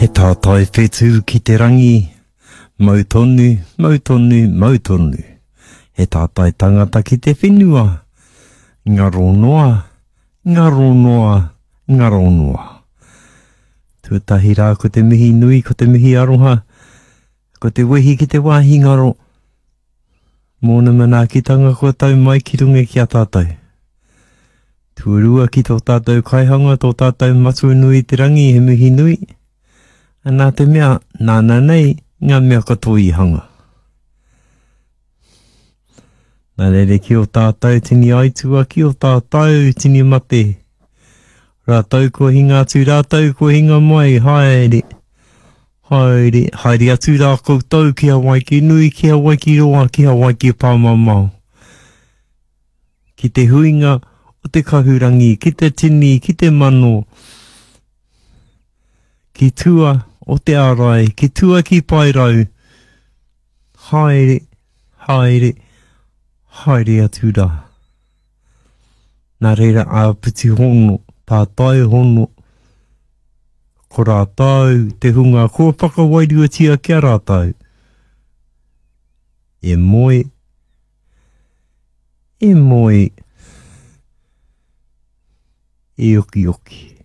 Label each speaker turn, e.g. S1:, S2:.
S1: He tātai whetū ki te rangi, mau tonu, mau tonu, mau tonu. He tātai tangata ki te whenua, ngaro noa, ngaro noa, ngaro noa. Tuatahi rā ko te mihi nui, ko te mihi aroha, ko te wehi ki te wāhi ngaro, mōna manaakitanga kua tau mai ki runga ki a tātou. Tuarua ki tō tātou kaihanga, tō tātou matua nui te rangi, he mihi nui. Nā te mea, nāna nei ngā mea katoa i hanga. Nā reira ki o tātou tini aitua, ki o tātou tini mate. Rātou kua hinga atu, rātou kua hinga mai, haere, haere, haere atu rā koutou ki Hawaiki nui, ki Hawaiki roa, ki Hawaiki pāmamao. Ki te huinga o te kahurangi, ki te tini, ki te mano, ki tua o te ārai, ki tua ki Paerau, haere, haere, haere atu rā. Nā reira āpiti hono, tātai hono, ko rātou te hunga kua whakawairuatia ki a rātou. E moe, E moe, e okioki.